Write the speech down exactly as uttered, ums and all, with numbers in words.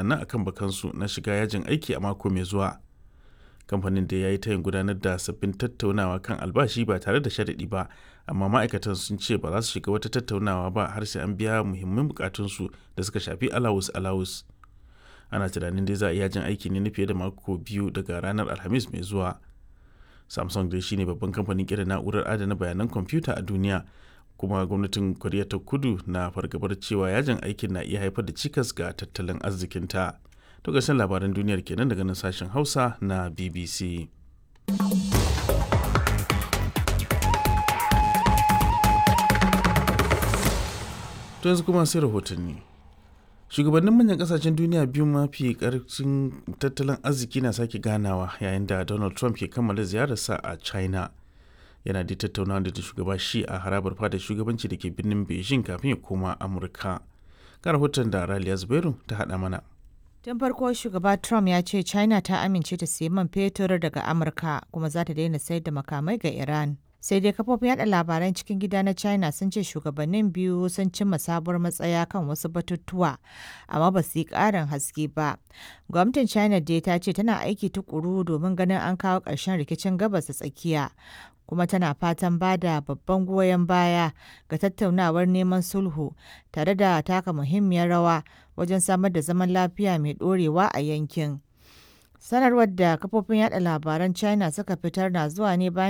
Nan akan bakansu na shiga yajin aiki a mako mai zuwa. Kamfanin dai ya yi tayin gudanar da sabbin tattaunawa kan albashi ba tare da sharaɗi ba, amma ma'aikatan sun ce ba za su shiga wata tattaunawa ba har sai an biya muhimman bukatunsu da suka shafi alawus-alawus. Ana tunanin dai za a yi yajin aiki ne na fiye da mako biyu daga ranar Alhamis mai zuwa. Samsung dai shine babban kamfanin kera na'urar adana bayanan kwamfuta a duniya, kuma gwamnatin Koriya ta Kudu na fargabar cewa yajin aikin na iya haifar da cikas ga tattalin arzikinta. To ƙarshen labaran duniyar kenan daga nan sashen Hausa na B B C. To yanzu kuma sai rahotanni. Shugabannin manyan kasashen duniya biyu mafi karfin tattalin arziki na sake ganawa yayin da Donald Trump ke kammala ziyararsa a China. Yana da tattaunawa da shugaba Xi a harabar fadar shugabanci da ke birnin Beijing kafin ya koma Amurka. Ga rahoton da Raliya Zubairu ta haɗa mana. Tun farko Shugaba Trump ya ce China ta amince ta sayi man fetur daga Amurka kuma za ta daina sayar da makamai ga Iran. Sai dai kafofin yada labaran cikin gida na China sun ce shugabannin biyu sun cimma sabuwar matsaya kan wasu batutuwa, amma ba su yi ƙarin haske ba. Gwamnatin China dai ta ce tana aiki tukuru domin ganin an kawo ƙarshen rikicin Gabas ta Tsakiya, kuma tana fatan ba da babban goyon baya ga tattaunawar neman sulhu tare da taka muhimmiyar rawa wajen samar da zaman lafiya mai ɗorewa a yankin. Sanarwar da kafofin yada labaran China suka fitar na zuwa ne bayan